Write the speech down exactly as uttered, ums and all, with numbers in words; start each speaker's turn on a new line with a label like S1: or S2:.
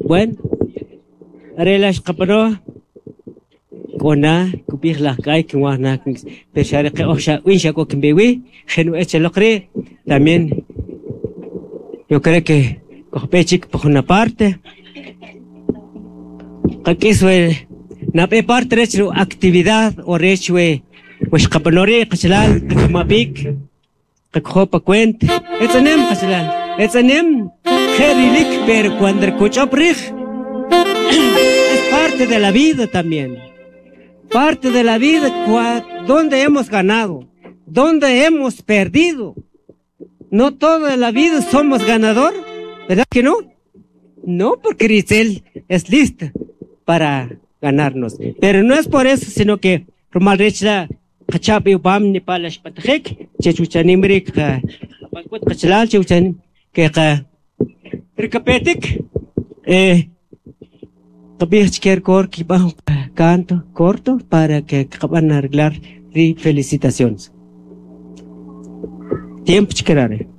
S1: Bueno, are la' xqab'ano k'o na kub'ij laj k'ay kinwaj na pero xa are qe oj xa in xa k'o kinb'e wi jenu'ej chaloq rii' también yo creo que kojb'e chik pa jun aparte qak'is we nab'e parte rech ri actividad o rech we we xqab'ano rii' qachalal qak'ama b'ik qakojo pa cuenta etz'enem qachalal etz'enem je' rilik pero cuando kuch'ob' rij es parte de la vida también parte de la vida donde hemos ganado donde hemos perdido no toda la vida somos ganador ¿verdad que no? No, porque Rizel es lista para ganarnos. Pero no es por eso, sino que rumal rech la qachab' iwpam nipa la xb'antajik chech uchanim rii' qab'an qachalal che uchanim que qa rikapetik eh qab'ij chike kor kib'an canto corto para que qab'an arreglar ri felicitaciones. Tiempo chikerare.